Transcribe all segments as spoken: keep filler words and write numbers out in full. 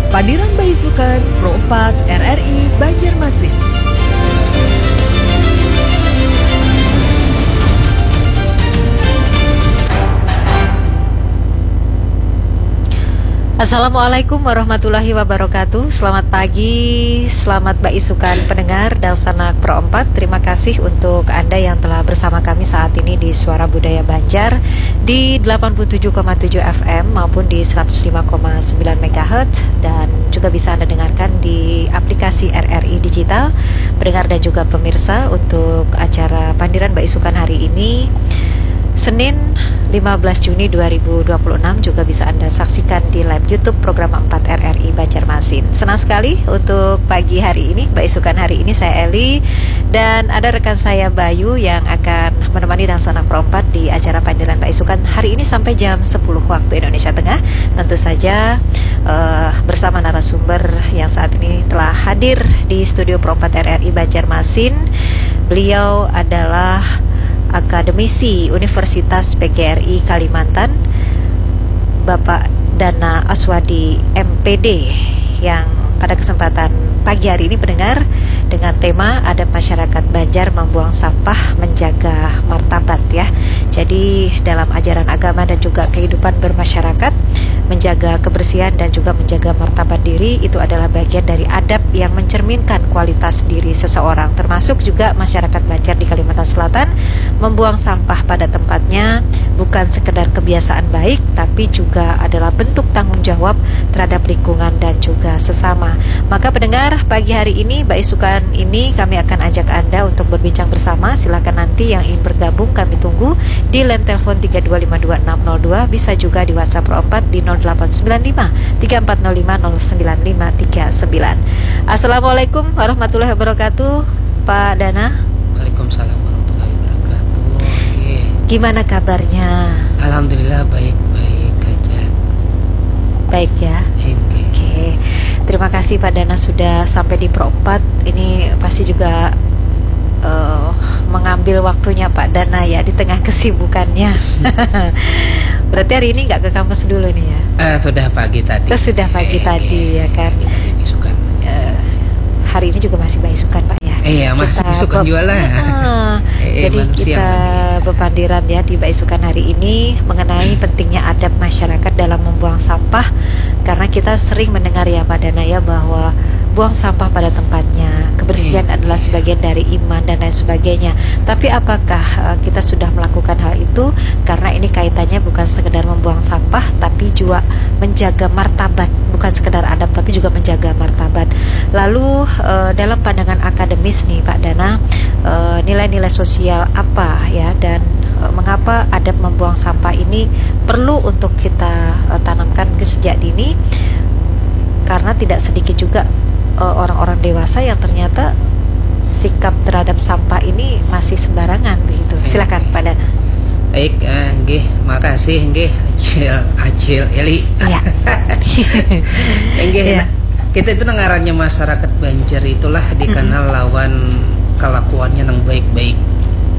Pandiran Baisukan Pro empat R R I Banjarmasin. Assalamualaikum warahmatullahi wabarakatuh. Selamat pagi, selamat baisukan pendengar Dangsanak Pro empat. Terima kasih untuk Anda yang telah bersama kami saat ini di Suara Budaya Banjar di delapan puluh tujuh koma tujuh F M maupun di seratus lima koma sembilan megahertz, dan juga bisa Anda dengarkan di aplikasi R R I Digital. Pendengar dan juga pemirsa, untuk acara Pandiran Baisukan hari ini, Senin lima belas Juni dua ribu dua puluh enam, juga bisa Anda saksikan di live YouTube Program empat R R I Banjarmasin. Senang sekali untuk pagi hari ini, baisukan hari ini saya Eli, dan ada rekan saya Bayu yang akan menemani Dangsanak Pro empat di acara Pandiran Baisukan hari ini sampai jam sepuluh waktu Indonesia Tengah. Tentu saja, eh, bersama narasumber yang saat ini telah hadir di studio Pro empat R R I Banjarmasin. Beliau adalah akademisi Universitas P G R I Kalimantan, Bapak Dana Aswadi, M P D, yang pada kesempatan pagi hari ini, pendengar, dengan tema Adab Masyarakat Banjar Membuang Sampah Menjaga Martabat, ya. Jadi, dalam ajaran agama dan juga kehidupan bermasyarakat, menjaga kebersihan dan juga menjaga martabat diri itu adalah bagian dari adab yang mencerminkan kualitas diri seseorang, termasuk juga masyarakat Banjar di Kalimantan Selatan membuang sampah pada tempatnya bukan sekedar kebiasaan baik, tapi juga adalah bentuk tanggung jawab terhadap lingkungan dan juga sesama. Maka pendengar, pagi hari ini, baisukan ini kami akan ajak Anda untuk berbincang bersama. Silahkan nanti yang ingin bergabung, kami tunggu di line telepon tiga dua lima dua enam nol dua, bisa juga di WhatsApp Pro empat di nol delapan sembilan lima tiga empat nol lima nol sembilan lima tiga sembilan. Assalamualaikum warahmatullahi wabarakatuh, Pak Dana. Waalaikumsalam warahmatullahi wabarakatuh. Oke. Gimana kabarnya? Alhamdulillah, baik-baik aja. Baik, ya. Oke. Oke. Terima kasih, Pak Dana, sudah sampai di Pro empat. Ini pasti juga, eh, mengambil waktunya Pak Dana, ya, di tengah kesibukannya. Berarti hari ini nggak ke kampus dulu nih, ya? Eh, sudah pagi tadi. Oh, sudah pagi, eh, tadi, ya kan? Pagi tadi, isukan. Eh, hari ini juga masih baisukan, Pak, ya? Iya, masih isukan juga lah. Heeh. Eh, eh, jadi manusia kita lagi bepandiran, ya, di baisukan hari ini mengenai pentingnya adab masyarakat dalam membuang sampah, karena kita sering mendengar, ya, Pak Dana, ya, bahwa buang sampah pada tempatnya, kebersihan adalah sebagian dari iman dan lain sebagainya. Tapi apakah, eh, kita sudah melakukan hal itu? Karena ini kaitannya bukan sekedar membuang sampah, tapi juga menjaga martabat. Bukan sekedar adab, tapi juga menjaga martabat. Lalu, eh, dalam pandangan akademis nih, Pak Dana, eh, nilai-nilai sosial apa, ya, dan, eh, mengapa adab membuang sampah ini perlu untuk kita, eh, tanamkan mungkin sejak dini? Karena tidak sedikit juga, eh, orang-orang dewasa yang ternyata sikap terhadap sampah ini masih sembarangan begitu. Silakan, Pak Dana. Baik, eh, nggih, makasih nggih, Acil, Acil Eli. Iya. Nggih, iya. Nah, kita itu nang ngarannya masyarakat Banjar itulah dikenal lawan kelakuannya nang baik-baik.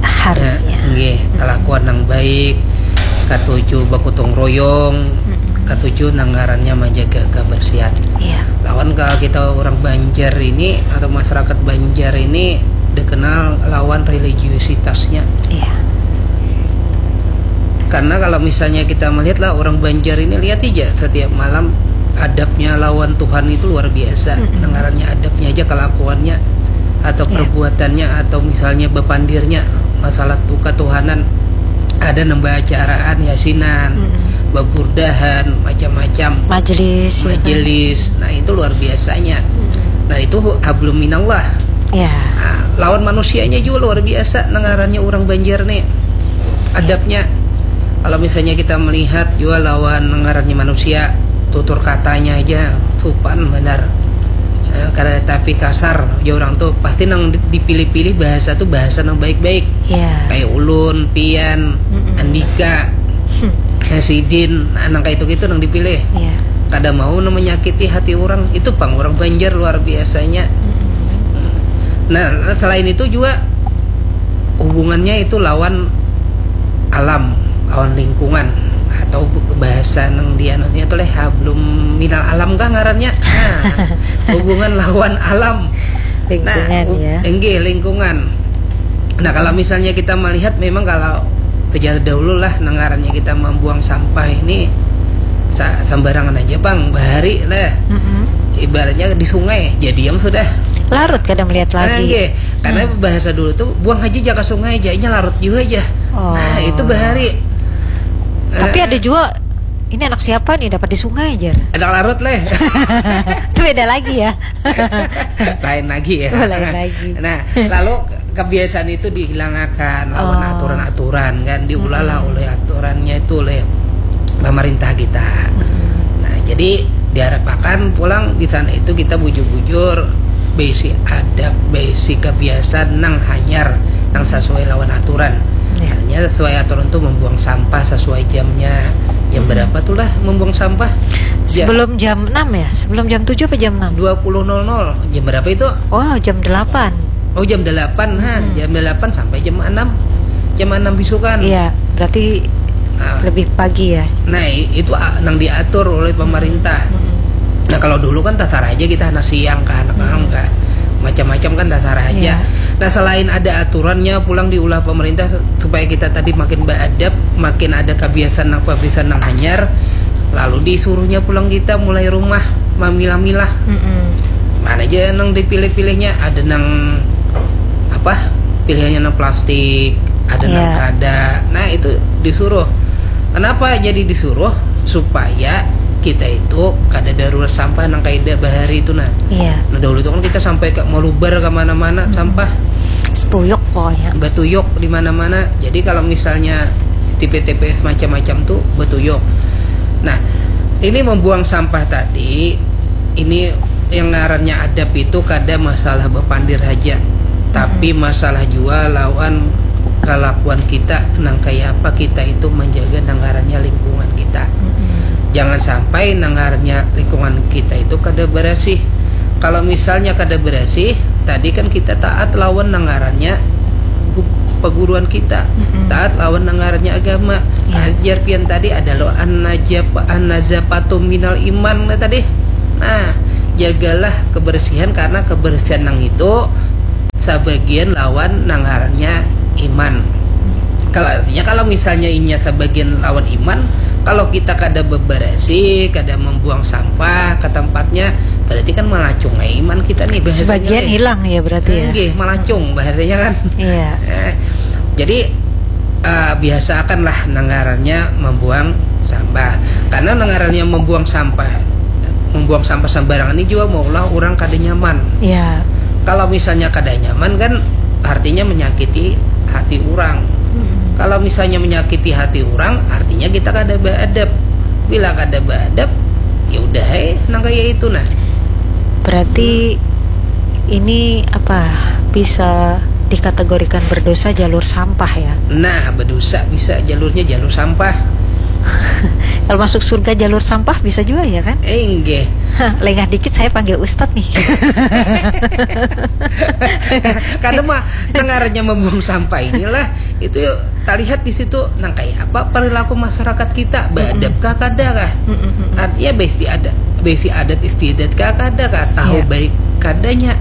Harusnya. Nah, nggih, kelakuan nang baik, katuju bagotong royong, katuju nang ngarannya menjaga kebersihan. Iya. Lawan kalau kita orang Banjar ini atau masyarakat Banjar ini dikenal lawan religiusitasnya. Iya. Karena kalau misalnya kita melihat lah, orang Banjar ini, lihat aja setiap malam adabnya lawan Tuhan itu luar biasa. Mm-mm. Nang ngarannya adabnya aja, kelakuannya atau, iya, perbuatannya atau misalnya bepandirnya masalah tu ketuhanan, ada nang baca araan yasinan, mm-mm, baburdahan, macam-macam. Majelis, ya kan? Majelis. Nah, itu luar biasanya. Mm-mm. Nah, itu hablum minallah. Ya. Nah, lawan manusianya juga luar biasa nang ngarannya orang Banjar nih. Adabnya, kalau misalnya kita melihat juga lawan nang ngarannya manusia, tutur katanya aja supan benar. Eh, kada tapi kasar, ya orang tuh pasti nang di-, dipilih-pilih bahasa tuh bahasa nang baik-baik. Ya. Kayak ulun, pian, mm-mm, andika, hmm, hasidin, nah, nang kayak itu gitu nang dipilih. Ya. Kada mau nang menyakiti hati orang, itu pang orang Banjar luar biasanya. Mm-mm. Nah, selain itu juga hubungannya itu lawan alam, lawan lingkungan. atau bu-, bahasa nang di anunya tu leh, ha, belum minal alam kah ngarannya? Nah, hubungan lawan alam. Nah, Lingkungan, u-, ya. Enggih, lingkungan. Nah, kalau misalnya kita melihat, memang kalau sejarah dahulu lah, nang ngarannya kita membuang sampah ini sa-, sembarangan aja, Bang, bahari lah. Mm-mm. Ibaratnya di sungai, jadi yang sudah. Larut kada melihat Nah, lagi. Enggih. Karena bahasa dulu tuh, "Buang aja ja ke sungai aja, inya larut juga aja." Oh. Nah, itu bahari. Tapi Eh, ada juga, ini anak siapa nih dapat di sungai, jar. Anak larut leh. Itu beda lagi, ya. Lain lagi, ya. Oh, lain lagi. Nah, lalu kebiasaan itu dihilangakan lawan Oh. aturan-aturan, kan, diulahlah Mm-mm. oleh aturannya itu oleh pemerintah kita. Nah, jadi diharapkan pulang di sana itu kita bujur-bujur basic adab, basic kebiasaan nang hanyar, nang sesuai lawan aturan. Ya. Artinya sesuai aturan tuh membuang sampah sesuai jamnya. Jam Hmm. Berapa tuh lah membuang sampah? Ja- Sebelum jam enam, ya? Sebelum jam tujuh apa jam enam? Dua puluh nol nol. Jam berapa itu? Oh, jam delapan. Oh, jam delapan, ha. Hmm. Jam delapan sampai jam enam. Jam enam bisukan. Iya, berarti Nah. Lebih pagi, ya. Nah, i-, itu, a-, nang diatur oleh pemerintah. Mm-mm. Nah, kalau dulu kan tasarah aja kita anak siang kah, anak Mm-mm. malam kah. Macam-macam kan tasarah aja. Iya. Nah, selain ada aturannya pulang diulah pemerintah supaya kita tadi makin beradab, makin ada kebiasaan nang kebiasaan nang hanyar, lalu disuruhnya pulang kita mulai rumah mamilah-milah. Mm-mm. Mana aja nang dipilih-pilihnya, ada nang apa? Pilihannya nang plastik, ada nang Iya. kada. Nah, itu disuruh. Kenapa jadi disuruh? Supaya kita itu kada darurat sampah nang kaida bahari itu, nah. Iya. Nah, dahulu itu kan kita sampai ke malubar ke mana-mana sampah. Setuyuk pokoknya. Betuyuk di mana-mana. Jadi kalau misalnya di T P T P S macam-macam tuh betuyuk. Nah, ini membuang sampah tadi, ini yang ngarannya adab itu kada masalah bepandir haja, tapi Mm-mm. masalah jua lawan kelakuan kita nang kaya apa kita itu menjaga nang ngarannya lingkungan kita. Mm-mm. Jangan sampai nang ngarannya lingkungan kita itu kada berasih. Kalau misalnya kada berasih, tadi kan kita taat lawan nang ngarannya gu-, peguruan kita, Mm-mm. taat lawan nang ngarannya agama. Iya. Ajar pian tadi adalah an-najapa-, an-nazafatu minal iman, nah, tadi. Nah, jagalah kebersihan karena kebersihan nang itu sabagian lawan nang ngarannya iman. Kalau artinya, kalau misalnya inya sabagian lawan iman, kalau kita kada beberesi, kada membuang sampah ke tempatnya, berarti kan melacung ai iman kita nih bahasanya Sebagian nih. Hilang, ya, berarti, ya. Nggih, melacung bahasanya kan. Iya. Eh, jadi, eh, biasakanlah nang ngarannya membuang sampah. Karena nang ngarannya membuang sampah, membuang sampah sembarangan ini juga maulah orang kada nyaman. Iya. Kalau misalnya kada nyaman kan artinya menyakiti hati orang. Mm-mm. Kalau misalnya menyakiti hati orang, artinya kita kada beadab. Bila kada beadab, ya udah, eh, nang kaya itu, nah. Berarti ini apa, bisa dikategorikan berdosa jalur sampah, ya? Nah, berdosa bisa jalurnya jalur sampah. Kalau masuk surga jalur sampah bisa juga, ya kan? Eh, enggak. Hah, lengah dikit saya panggil ustadz nih. Karena mah nang ngarannya membuang sampah inilah itu terlihat di situ nang kayak apa perilaku masyarakat kita, beadab kah kada kah? Mm-mm. Artinya besi ada, besi adat istiadat kah kada kah, tahu Iya. Baik kadanya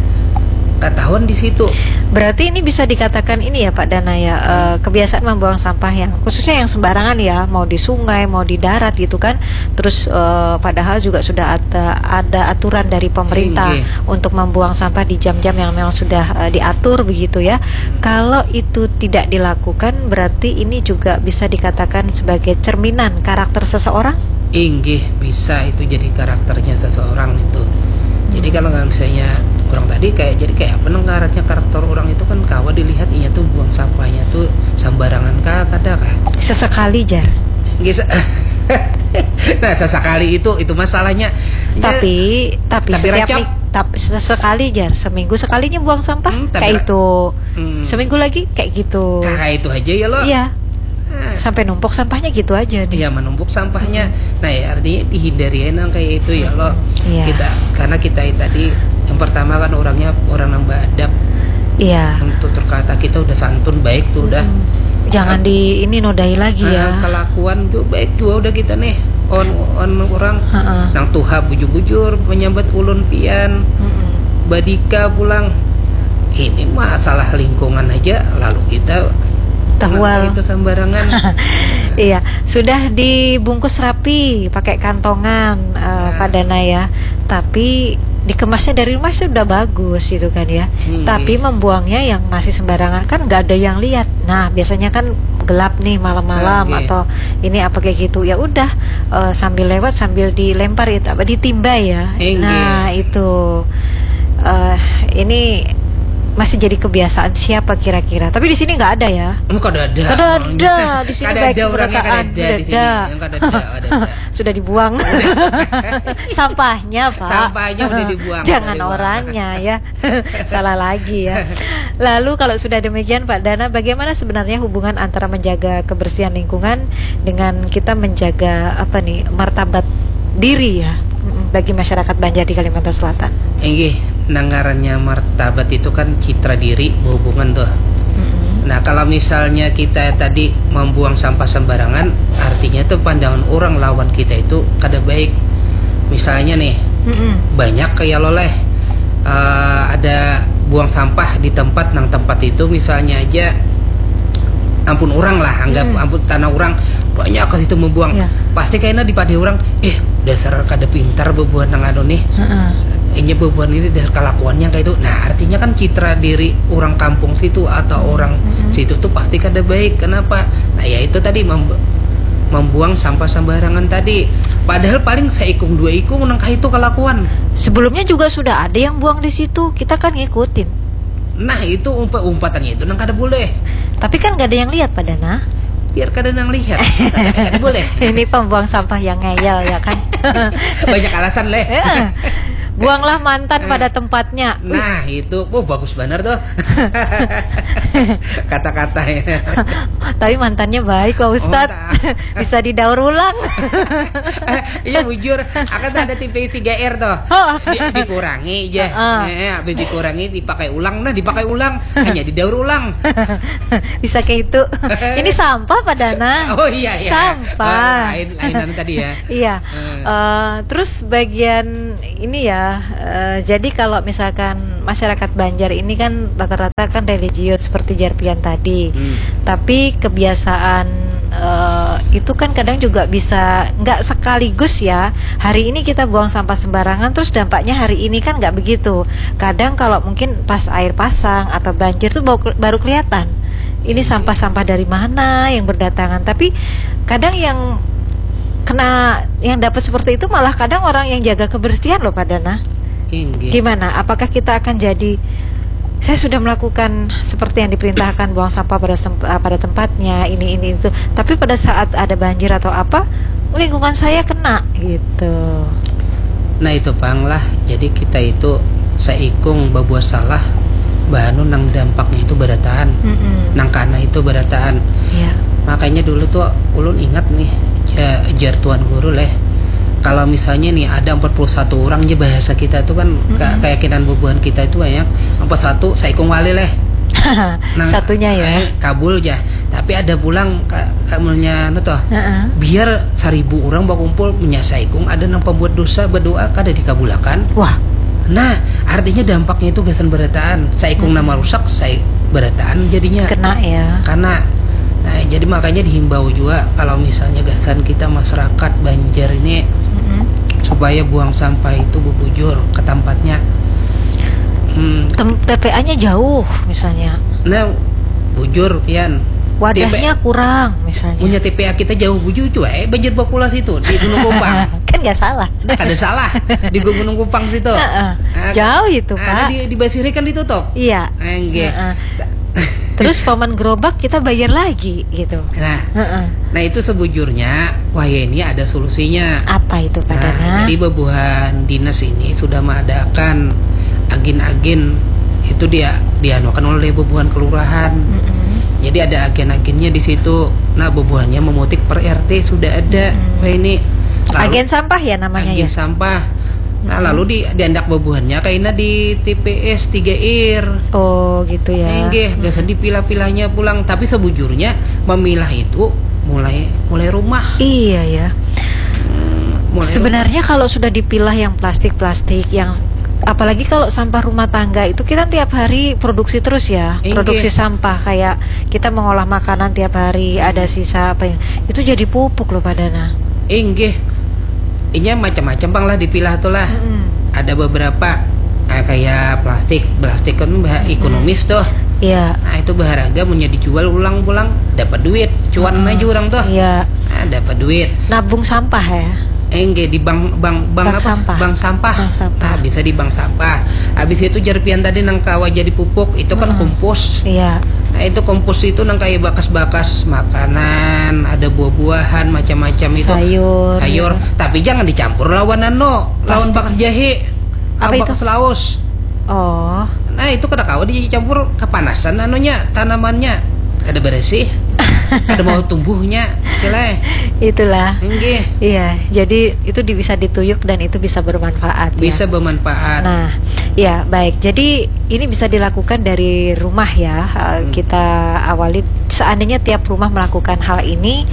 ketahuan di situ. Berarti ini bisa dikatakan ini ya, Pak Dana, ya, eh, kebiasaan membuang sampah yang khususnya yang sembarangan, ya, mau di sungai, mau di darat gitu kan. Terus, eh, padahal juga sudah ada, ada aturan dari pemerintah Inggih. Untuk membuang sampah di jam-jam yang memang sudah, eh, diatur begitu, ya. Kalau itu tidak dilakukan, berarti ini juga bisa dikatakan sebagai cerminan karakter seseorang. Inggih, bisa itu jadi karakternya seseorang itu. Jadi kalau nggak misalnya orang tadi kayak, jadi kayak apa nang karakternya, karakter orang itu kan kawa dilihat inya tuh buang sampahnya tuh sembarangan kah, kada kah? Sesekali, jar. Nggih, se- nah, sesekali itu, itu masalahnya. Inya Tapi tapi tapi setiap racap. mi- tap- sesekali, jar, seminggu sekalinya buang sampah. Hmm, tapi Kayak ra- itu. Hmm. Seminggu lagi kayak gitu. Kayak itu aja ya lo. Iya. Nah. Sampai numpuk sampahnya gitu aja nih. Iya, menumpuk sampahnya. Nah, ya, artinya dihindari aja nang kayak itu ya lo. Iya. Kita, karena kita tadi yang pertama kan orangnya orang nang beadab. Iya. Untuk terkata kita udah santun, baik tuh udah. Mm-mm. Jangan di ini nodai lagi ya. Ah, kelakuan juga baik juga udah kita nih. On on orang. Heeh. Nang tuha bujur-bujur menyambat ulun pian. Mm-mm. Badika pulang. Ini masalah lingkungan aja lalu kita Tahual. Itu sembarangan. Iya, sudah dibungkus rapi pakai kantongan, eh, Pak Dana ya. Tapi dikemasnya dari rumah sudah bagus gitu kan ya. Hmm, tapi iya. Membuangnya yang masih sembarangan kan nggak ada yang lihat. Nah, biasanya kan gelap nih malam-malam. Oke. Atau ini apa kayak gitu. Ya udah, eh, sambil lewat sambil dilempar itu apa ditimba ya. Inggih. Nah, itu. Eh, ini masih jadi kebiasaan siapa kira-kira? Tapi di sini nggak ada ya. Oh, kada ada. Kada ada. Di sini kada baik ada orangnya, kada ada di sini. Kada ada. Yang kada ada, kada ada. Sudah dibuang. Sampahnya, Pak. Sampahnya udah dibuang. Jangan udah dibuang. Orangnya ya. Salah lagi ya. Lalu kalau sudah demikian, Pak Dana, bagaimana sebenarnya hubungan antara menjaga kebersihan lingkungan dengan kita menjaga apa nih, martabat diri ya, mm, bagi masyarakat Banjar di Kalimantan Selatan? Inggih, nang ngarannya martabat itu kan citra diri berhubungan tuh. Mm-mm. Nah, kalau misalnya kita tadi membuang sampah sembarangan, artinya tuh pandangan orang lawan kita itu kada baik. Misalnya nih, mm-mm, banyak kayak lo leh, eh, ada buang sampah di tempat, nang tempat itu misalnya aja ampun orang lah, anggap, hmm, ampun tanah orang, banyak ke situ membuang. Ya. Pasti kayaknya dipadah orang, eh, dasar kada pintar bebuat nang anu nih. Heeh. Inya bebuat ini dasar kelakuannya kayak itu. Nah, artinya kan citra diri orang kampung situ atau orang, mm-mm, situ tuh pasti kada baik. Kenapa? Nah, ya itu tadi mem- membuang sampah sembarangan tadi. Padahal paling seikung dua ikung nang kayak itu kelakuan. Sebelumnya juga sudah ada yang buang di situ. Kita kan ngikutin. Nah, itu umpa- umpatannya itu nang kada boleh. Tapi kan gak ada yang lihat, Pak Dana. Biar kada nang lihat. Kada boleh. Ini pembuang sampah yang ngeyel, ya kan? Banyak alasan, leh. Ya. Buanglah mantan, eh, pada tempatnya. Wih. Nah, itu, oh, bagus benar tuh. Kata-katanya. Tapi mantannya baik, Pak Ustadz. Oh, bisa didaur ulang. Eh, iya, bujur. Akan ada T P tiga R tuh. Oh. Di- dikurangi aja. Heeh. Eh, habis dikurangi, dipakai ulang. Nah, dipakai ulang. Hanya didaur ulang. Bisa kayak itu. Ini sampah, Pak Dana. Oh, iya, iya. Sampah. Ah, lain, lain anu tadi ya. Iya. Hmm. Eh, terus bagian ini ya, eh, jadi kalau misalkan masyarakat Banjar ini kan rata-rata kan religius seperti Jarpian tadi. Hmm. Tapi kebiasaan, eh, itu kan kadang juga bisa nggak sekaligus ya. Hari ini kita buang sampah sembarangan, terus dampaknya hari ini kan nggak begitu. Kadang kalau mungkin pas air pasang atau banjir tuh baru, baru kelihatan. Ini, iya, sampah-sampah dari mana yang berdatangan. Tapi kadang yang kena, yang dapat seperti itu malah kadang orang yang jaga kebersihan loh, Pak Dana. Inggih. Gimana? Apakah kita akan jadi, "Saya sudah melakukan seperti yang diperintahkan, buang sampah pada sem- eh, pada tempatnya, ini, ini, itu. Tapi pada saat ada banjir atau apa, lingkungan saya kena," gitu. Nah, itu pang lah. Jadi kita itu saikung babuat salah, bahanu nang dampaknya itu barataan. Mm-mm. Nang kana itu barataan. Iya. Makanya dulu tuh ulun ingat nih, ja- jar tuan guru leh. Kalau misalnya nih ada empat puluh satu orang aja, bahasa kita tuh kan, mm-mm, ke- keyakinan bubuhan kita itu banyak. Empat satu saikung wali leh. Nah, satunya ya. Eh, kabul aja. Tapi ada pulang ka- kamunya anu tuh. Heeh. Biar seribu orang bakumpul, menyasai kung ada nang pembuat dosa, berdoa kada dikabulakan. Wah. Nah, artinya dampaknya itu gasan berataan. Saikung, hmm, nama rusak, sai berataan jadinya. Kena ya. Karena, nah, jadi makanya dihimbau juga kalau misalnya gasan kita masyarakat Banjar ini, mm-mm, supaya buang sampah itu bubujur ke tempatnya. Hmm. Tem- T P A-nya jauh misalnya. Nah, bujur pian. Wadahnya T P A kurang misalnya. Punya T P A kita jauh bujur, cuy. Eh, Banjar Bakula situ di Gunung Kupang. Kan nggak salah. Ada salah di Gunung Kupang situ. Heeh. Ah, jauh itu, ah, Pak. Di, di Basiri kan ditutup. Iya. Enggak. Heeh. Terus paman gerobak kita bayar lagi gitu. Nah, heeh, nah, itu sebujurnya wahya ini ada solusinya. Apa itu, Pak Dana? Nah, jadi bebuhan dinas ini sudah mengadakan agen-agen itu dia dianukan oleh bebuhan kelurahan. Mm-mm. Jadi ada agen-agennya di situ. Nah, bebuhannya memutik per R T sudah ada. Mm-mm. Wah, ini lalu agen sampah ya namanya, agen ya? Sampah. Nah, lalu di diandak bebuhannya kaina di T P S tiga R. Oh, gitu ya. Inggih, gasan dipilah-pilahnya pulang. Tapi sebujurnya memilah itu mulai mulai rumah. Iya ya. Hmm, mulai Sebenarnya rumah. Kalau sudah dipilah yang plastik-plastik, yang apalagi kalau sampah rumah tangga itu kita tiap hari produksi terus ya, Inggih. Produksi sampah kayak kita mengolah makanan tiap hari ada sisa apa yang itu jadi pupuk loh Pak Dana. Inggih. Inya macam-macam bang lah dipilah tuh lah. Mm-mm. Ada beberapa ah, kayak plastik, plastik kan bah ekonomis tuh. Iya. Nah itu berharga mau dijual ulang pulang dapat duit, cuan aja orang tuh. Iya. Nah, dapat duit. Nabung sampah ya. Enggak di bank bank bank, bank apa? Sampah. Bank sampah. Bank sampah. Nah, bisa di bank sampah. Habis itu jerpian tadi nang kawa jadi pupuk itu kan kompos. Iya. Nah, itu kompos itu nang kayak bakas-bakas makanan, ada buah-buahan macam-macam itu. Sayur. Sayur, tapi jangan dicampur lawan anu, lawan bakas jahe. Apa itu? Bakas laos. Oh. Nah, itu kada kawa dicampur kepanasan anunya, tanamannya. Kada bersih. Kada mau tumbuhnya. Sileh. Itulah. Inggih. Iya, jadi itu di- bisa dituyuk dan itu bisa bermanfaat ya. Bisa bermanfaat. Nah, ya baik. Jadi ini bisa dilakukan dari rumah ya. Eh, hmm. Kita awali seandainya tiap rumah melakukan hal ini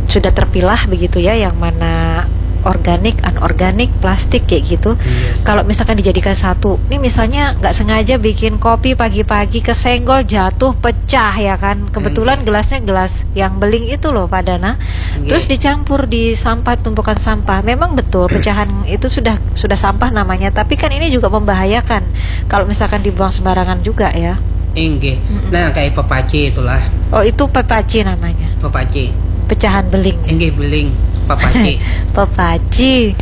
sudah terpilah begitu ya, yang mana organik, anorganik, plastik kayak gitu. Iya. Kalau misalkan dijadikan satu, ini misalnya nggak sengaja bikin kopi pagi-pagi kesenggol jatuh pecah ya kan. Kebetulan gelasnya gelas yang beling itu loh Pak Dana. Terus dicampur di sampah, tumpukan sampah. Memang betul pecahan itu sudah sudah sampah namanya, tapi kan ini juga membahayakan kalau misalkan dibuang sembarangan juga ya. Inggih. Mm-mm. Nah, kayak pepaci itulah. Oh, itu pepaci namanya. Pepaci. Pecahan beling. Inggih beling, pepaci. Pepaci.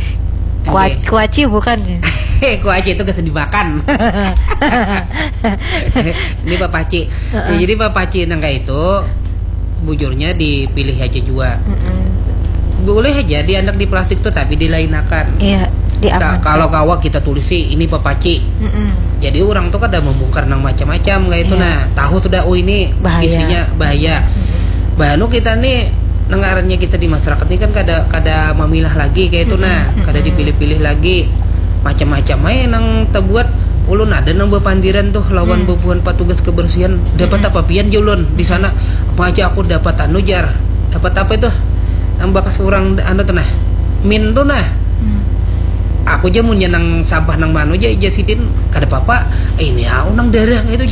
Kua- Inggih. Kuaci bukan ya? Eh, kuaci itu kesan dimakan. Ini pepaci. Ya, jadi pepaci nang kayak itu bujurnya dipilih aja jua. Mm-mm. Boleh aja di anak di plastik tuh tapi dilainakan. Iya, diamankan. Kalau kawa kita tulis sih ini pepaci. Mm-mm. Jadi orang tuh kada membongkar nang macam-macam kayak itu. Iya. Nah, tahu sudah oh ini bahaya. Isinya bahaya. Mm-mm. Bahanu kita nih nang ngarannya kita di masyarakat ini kan kada kada memilah lagi kayak itu. Mm-mm. Nah, kada dipilih-pilih lagi. Macam-macam aja nang terbuat. Ulun ada nang berpandiran tuh lawan bubuhan petugas kebersihan. Dapat apa pian jar ulun di sana? Apa aja aku dapat anu jar. Dapat apa itu? Nang bakas orang anu tuh nah. Min tuh nah. Aku aja munnya nang sampah nang manu aja ija sidin kada apa-apa. Ini aku nang darah itu.